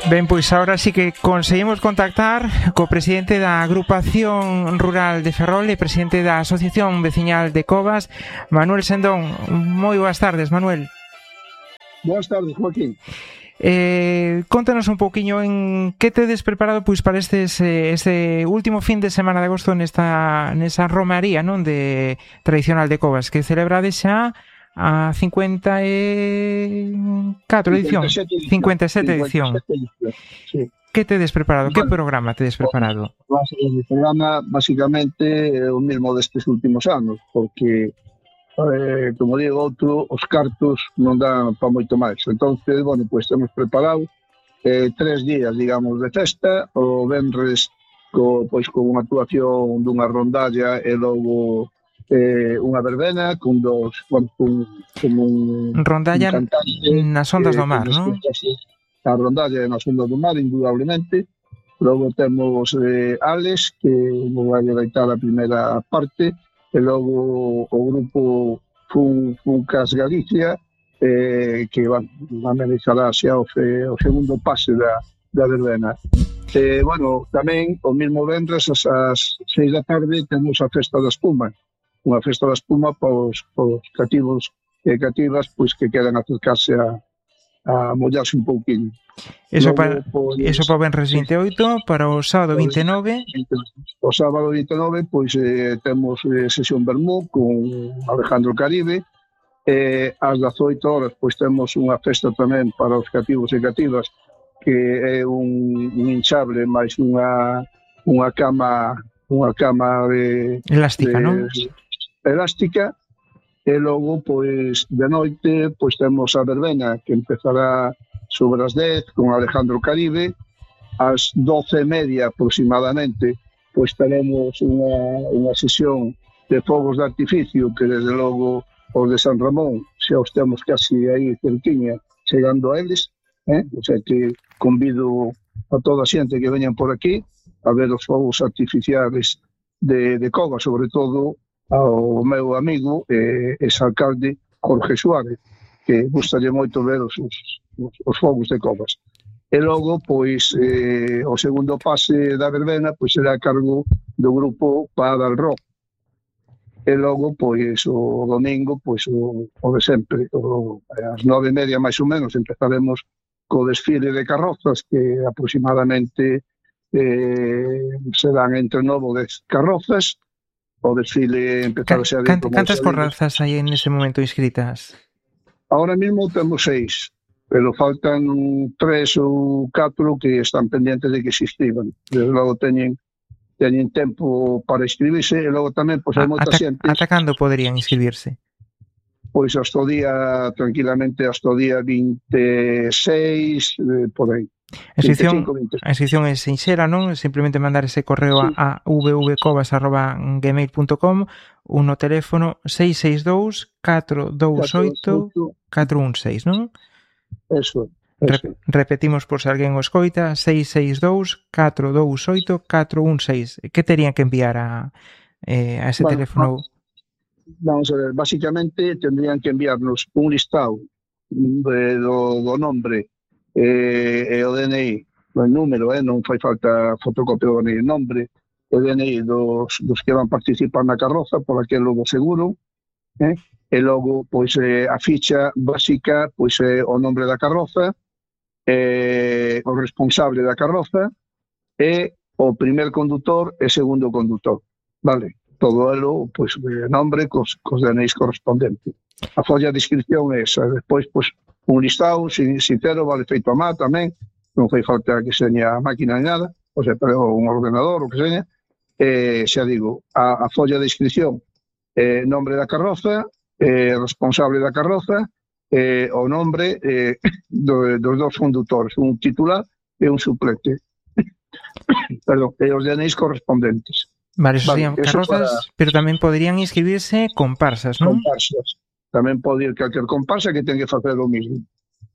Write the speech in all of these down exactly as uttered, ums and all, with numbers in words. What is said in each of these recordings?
Ben, pois agora sí que conseguimos contactar co presidente da Agrupación Rural de Ferrol e presidente da Asociación Veciñal de Covas, Manuel Sendón. Moi boas tardes, Manuel. Boas tardes, Joaquín. Eh, contanos un pouquiño en que tedes preparado pois para estes, este último fin de semana de agosto nesta, nesa romaría, non, de tradicional de Covas, que celebrades xa a cincuenta e catro edición, cincuenta e sete edición. Sí. Que tedes preparado? Bueno, que programa tedes preparado? O programa basicamente é o mesmo destes últimos anos, porque eh, como digo outro, os cartos non dan para moito máis. Entonces, bueno, pois temos preparado eh, tres días, digamos, de festa. O venres co, pois con unha actuación dunha rondalla e logo eh, unha verbena con dos, bueno, con, con un rondalla un cantante, nas ondas eh, do mar, non? A rondalla nas ondas do mar, indudablemente. Logo temos eh, Alex, que nos vai deitar a primeira parte, e logo o grupo Fun, Funcas Galicia, eh, que van, van a realizará xa o, fe, o segundo pase da, da verbena. Eh, bueno, tamén o mesmo vendres as, as seis da tarde temos a Festa da Espuma, unha festa da espuma para os, para os cativos e cativas pois que queran acercarse a, a mollarse un pouquinho. Eso para pois, eso para o venres vinte e oito, para o sábado vinte e nove. O sábado vinte e nove pois eh, temos eh, sesión vermú con Alejandro Caribe. Eh, ás dezoito horas pois temos unha festa tamén para os cativos e cativas, que é un, un hinchable máis unha unha cama unha cama de elástica, de, non? elástica. E logo, pois, de noite, pois temos a verbena, que empezará sobre as dez, con Alejandro Caribe. Ás doce e media, aproximadamente, pois teremos unha, unha sesión de fogos de artificio, que desde logo os de San Ramón, xa os temos casi aí cerquiña, chegando a eles, eh? O sea que convido a toda a xente que veñan por aquí a ver os fogos artificiales de, de Cova, sobre todo ao meu amigo e eh, exalcalde Jorge Suárez, que gustaría moito ver os, os, os fogos de Covas. E logo, pois, eh, o segundo pase da verbena pois será a cargo do grupo Padal Rock. E logo, pois, o domingo, pois, o, o de sempre, o, ás nove e media máis ou menos, empezaremos co desfile de carrozas, que aproximadamente eh, serán entre nove dez carrozas. O desfile empezar xa de... Cant, cantas carrozas hai en ese momento inscritas? Ahora mismo temos seis, pero faltan tres ou catro que están pendientes de que se inscriban. Desde logo teñen, teñen tempo para inscribirse, e logo tamén, pois, hai moita xente... Ata cando poderían inscribirse? Pois hasta o día, tranquilamente, hasta o día vinte e seis, eh, por aí. A inscripción, a inscripción é sinxera, non? Simplemente mandar ese correo sí. a, a v v covas arroba gmail punto com, un no teléfono seis seis dous, catro dous oito, catro un seis, non? Eso, eso. Re, repetimos por se alguén o escoita, seis seis dous, catro dous oito, catro un seis. Que terían que enviar a, eh, a ese bueno, teléfono? Vamos a ver, básicamente tendrían que enviarnos un listado de, do, do nombre e, e o D N I, o número, eh, non fai falta fotocopia do D N I, nombre e D N I dos, dos que van participar na carroza, por aquilo do seguro, eh, e logo, pois, eh, a ficha básica, pois, é o nombre da carroza, eh, o responsable da carroza e o primer condutor e segundo condutor, vale? Todo elo, pois, eh, nombre cos, cos D N Is correspondentes. A folla de inscripción é esa, despois, pois, un listado, sin, sincero, vale feito a má tamén, non fai falta que seña a máquina ni nada, o sea, pero un ordenador, o que seña, eh, xa digo, a, a folla de inscripción, eh, nombre da carroza, eh, responsable da carroza, eh, o nombre eh, do, dos dos condutores, un titular e un suplente. Perdón, e os D N Is correspondentes. Vale, eso vale, serían carrozas, para... pero tamén poderían inscribirse comparsas, non? Comparsas. Tamén pode ir calquer comparsa que ten que facer o mismo.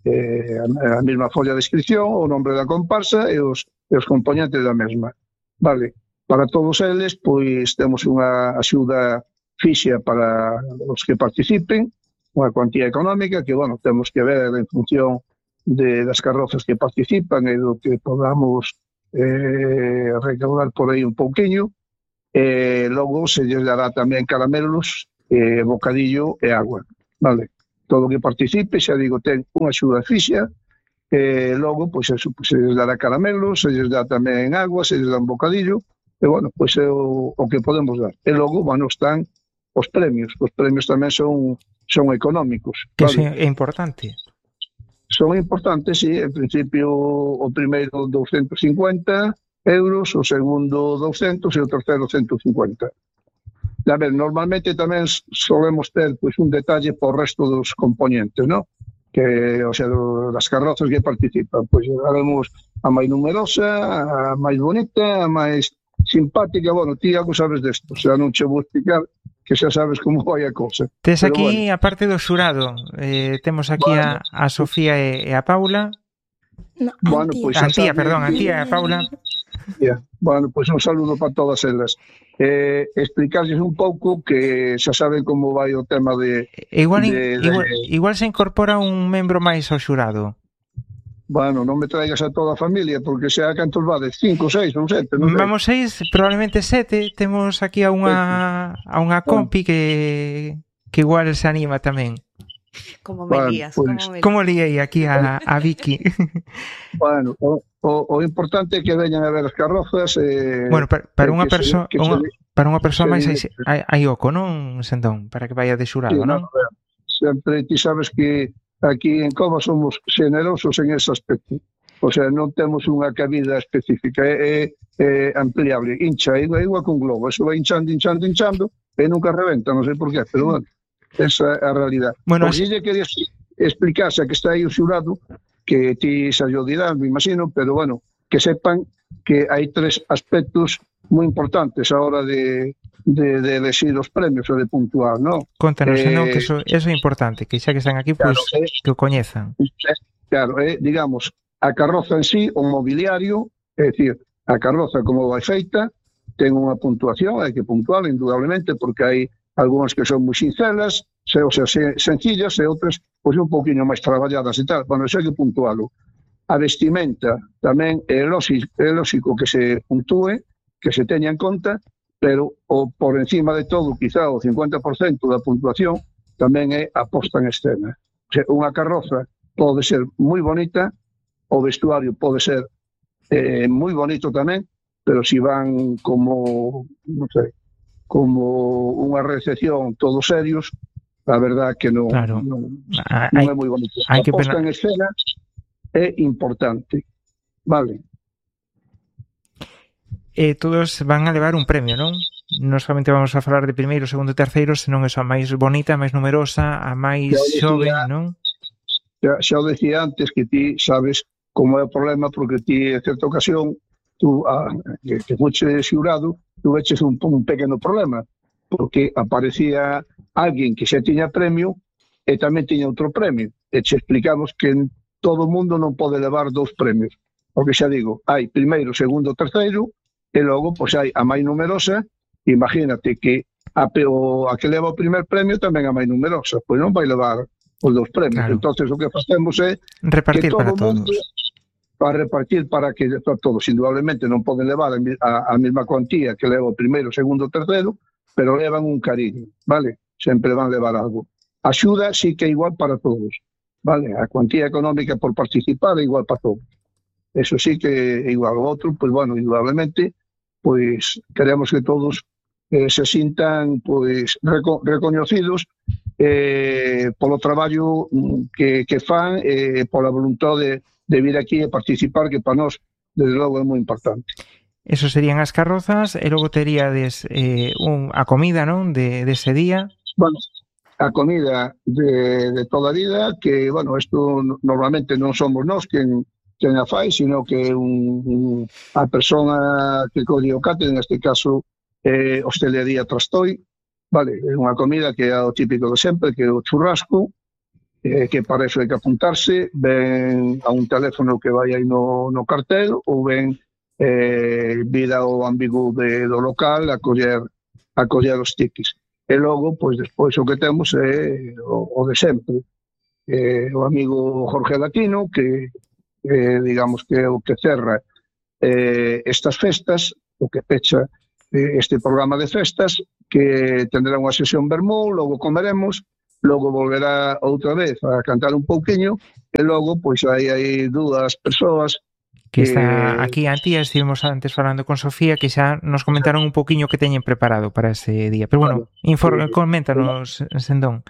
Eh, a, a mesma folla de inscripción, o nombre da comparsa e os, e os componentes da mesma. Vale, para todos eles, pois temos unha axuda fixa para os que participen, unha cuantía económica que, bueno, temos que ver en función de, das carrozas que participan e do que podamos eh, recaudar por aí un pouquiño. E logo se lles dará tamén caramelos, eh, bocadillo e agua, vale? Todo o que participe, xa digo, ten unha axuda fixa, e logo, pois, eso, pois, se lles dará caramelos, se lles dá tamén agua, se lles dá un bocadillo, e, bueno, pois é o, o que podemos dar. E logo, bueno, están os premios, os premios tamén son, son económicos. Que vale? é importante. Son importantes, sí, en principio o primeiro doscientos cincuenta euros, o segundo doscientos e o terceiro ciento cincuenta. A ver, normalmente tamén solemos ter pois, un detalle por resto dos componentes, ¿no? Que, o sea, do, das carrozas que participan, pois haremos a máis numerosa, a máis bonita, a máis simpática. Bueno, ti algo sabes desto, o sea, non che vou explicar, que xa sabes como vai a cosa. Tes aquí, bueno, a parte do xurado, eh, temos aquí bueno, a, a Sofía e, e a Paula. No, bueno, pois a Antía, perdón, a Antía e a Paula. Yeah. Bueno, pois un saludo para todas elas. Eh, explicarles un pouco que xa saben como vai o tema de... Igual, de, de... igual, igual se incorpora un membro máis ao xurado. Bueno, non me traigas a toda a familia, porque xa cantos vades, cinco, seis ou sete, non sei. Vamos seis, probablemente sete. Temos aquí a unha a unha compi que que igual se anima tamén. Como me bueno, lías, pues, como me lías. Como liei aquí a, a Vicky. Bueno, o, o, o importante é que veñan a ver as carrozas. Eh, bueno, para, para unha persoa para unha persoa máis hai, hai oco, non, Sentón? Para que vaya de xurado, sí, non? No, sempre ti sabes que aquí en Cova somos generosos en ese aspecto. O sea, non temos unha cabida específica, é, é, é ampliable. Hincha, é igual que un globo. Eso vai hinchando, hinchando, hinchando e nunca reventa, non sei por qué, pero bueno, esa é a realidad. Bueno, por si lle quería explicarse a que está aí o xurado, que ti xa yo dirán, me imagino, pero bueno, que sepan que hai tres aspectos moi importantes a hora de, de, de elegir os premios ou de puntuar, non? Contanos, eh, non, que eso, eso é importante, que xa que están aquí, pois, pues, claro, que o coñezan. Claro, eh, digamos, a carroza en sí, o mobiliario, é dicir, a carroza como vai feita, ten unha puntuación, hai que puntuar, indudablemente, porque hai algunhas que son moi sincelas, se, o sea, sencillas, e outras pois un pouquinho máis traballadas e tal. Bueno, eso hai que puntualo. A vestimenta tamén é lógico, é lógico que se puntúe, que se teña en conta, pero o por encima de todo, quizá o cincuenta por cento da puntuación tamén é a posta en escena. O sea, unha carroza pode ser moi bonita, o vestuario pode ser eh, moi bonito tamén, pero si van como, non sei, como unha recepción todos serios, a verdad que non, claro. non, hay, non é moi bonito. A posta pena... en escena é importante, vale? E todos van a levar un premio, non? Non solamente vamos a falar de primeiro, segundo e terceiro, senón eso, a máis bonita, a máis numerosa, a máis xove, non? Xa, xa o decía antes que ti sabes como é o problema, porque ti, en certa ocasión, tú, a, que, que fuche xurado, tú veches un, un pequeno problema, porque aparecía alguén que xa tiña premio e tamén tiña outro premio. E che explicamos que todo o mundo non pode levar dous premios. Porque xa digo, hai primeiro, segundo, terceiro, e logo, pois hai a máis numerosa. Imagínate que a, o, a que leva o primer premio tamén a máis numerosa, pois non vai levar os dous premios. Claro. Entonces o que facemos é repartir que todo para mundo, todos. Para repartir para que para todos. Indudablemente non poden levar a, a, a mesma cuantía que leva o primeiro, segundo, terceiro, pero levan un cariño, vale? Sempre van levar algo. A axuda sí que é igual para todos, vale? A cuantía económica por participar é igual para todos. Eso sí que é igual. O outro, pois, bueno, indudablemente, pois, queremos que todos eh, se sintan, pois, reco recoñecidos eh, polo traballo que, que fan, eh, pola voluntade de, de vir aquí e participar, que para nós, desde logo, é moi importante. Eso serían as carrozas, e logo teríades eh, un, a comida, non, de, de ese día. Bueno, a comida de, de toda a vida, que, bueno, isto normalmente non somos nós quen, quen a fai, sino que un, un, a persona que colle o cate, neste caso, eh, hostelería Trastoi, vale, é unha comida que é o típico de sempre, que é o churrasco, eh, que para eso hai que apuntarse, ven a un teléfono que vai aí no, no cartel, ou ven eh, vir ao ambigu de, do local a coller, a coller os tiquis. E logo, pois, despois o que temos é o, o de sempre. eh, o amigo Jorge Latino, que eh, digamos que é o que cerra eh, estas festas, o que pecha eh, este programa de festas, que tendrá unha sesión vermú, logo comeremos, logo volverá outra vez a cantar un pouquiño, e logo, pois, hai, hai dúas persoas que está aquí a tía, estivemos antes falando con Sofía, que xa nos comentaron un pouquiño que teñen preparado para ese día. Pero bueno, Claro. informe, Eh, coméntanos, Sendón.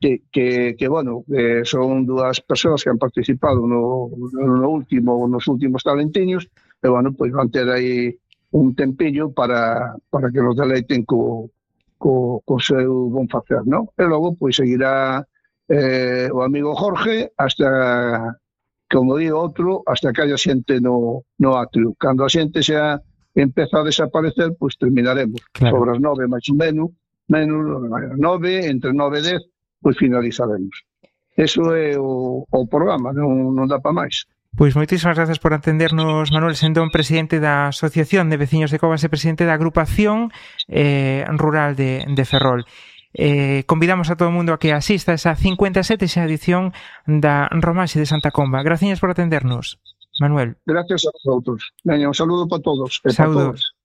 que, que, que bueno, eh, son dúas persoas que han participado no, no último, nos últimos talentiños, e bueno, pois van ter aí un tempillo para, para que nos deleiten co, co, co seu bon facer, non? E logo, pois, seguirá eh, o amigo Jorge hasta, como digo outro, hasta que haya xente no, no atrio. Cando a xente xa empeza a desaparecer, pois terminaremos. Claro. Sobre as nove, máis ou menos, menos nove, entre nove e dez, pois finalizaremos. Eso é o, o programa, non, non dá para máis. Pois moitísimas gracias por atendernos, Manuel Sendón, presidente da Asociación de Veciños de Covas e presidente da Agrupación eh, Rural de, de Ferrol. Eh, convidamos a todo o mundo a que asista a esa cincuenta e sete xa edición da Romaxe de Santa Comba. Gracias por atendernos, Manuel. Gracias a vosotros. Veña, un saludo para todos. E Saúdos.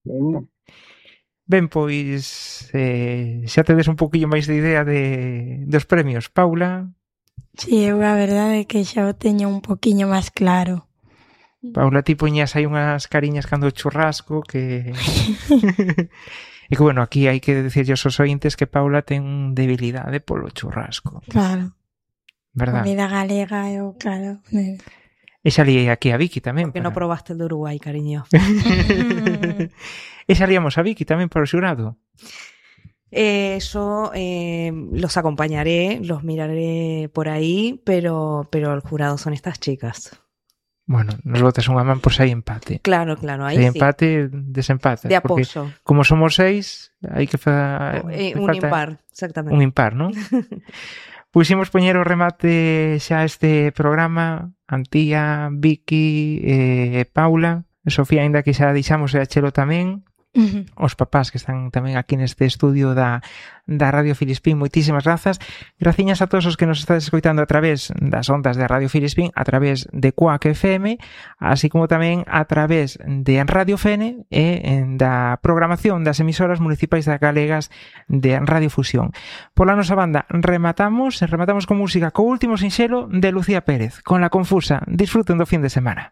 Para todos. Ben, pois eh, xa tedes un poquillo máis de idea de, dos premios. Paula? Si, sí, eu a verdade é que xa o teño un poquinho máis claro. Paula, ti poñías aí unhas cariñas cando o churrasco que... E que, bueno, aquí hai que decirlle aos ointes que Paula ten debilidade polo churrasco. Claro. Verdad? Comida galega, eu, claro... E xa liei aquí a Vicky tamén. Porque para... no probaste el de Uruguay, cariño. E xa liamos a Vicky tamén para o xurado. Eh, yo eh, los acompañaré, los miraré por ahí, pero, pero el jurado son estas chicas. Bueno, nos botas unha man por si hai empate. Claro, claro, ahí si hai sí. empate, desempate. De apoyo. Como somos seis, hai que fa... Eh, un impar, exactamente. Un impar, non? Pois imos poñer o remate xa este programa. Antía, Vicky, eh, Paula, Sofía, ainda que xa deixamos e a Chelo tamén. Uh-huh. Os papás que están tamén aquí neste estudio da, da Radio Filispín, moitísimas grazas. Graciñas a todos os que nos estades escoitando a través das ondas de Radio Filispín, a través de Cuac F M, así como tamén a través de Radio F N e en da programación das emisoras municipais da Galegas de Radio Fusión. Pola nosa banda rematamos, rematamos con música co último sinxelo de Lucía Pérez, con La Confusa. Disfruten do fin de semana.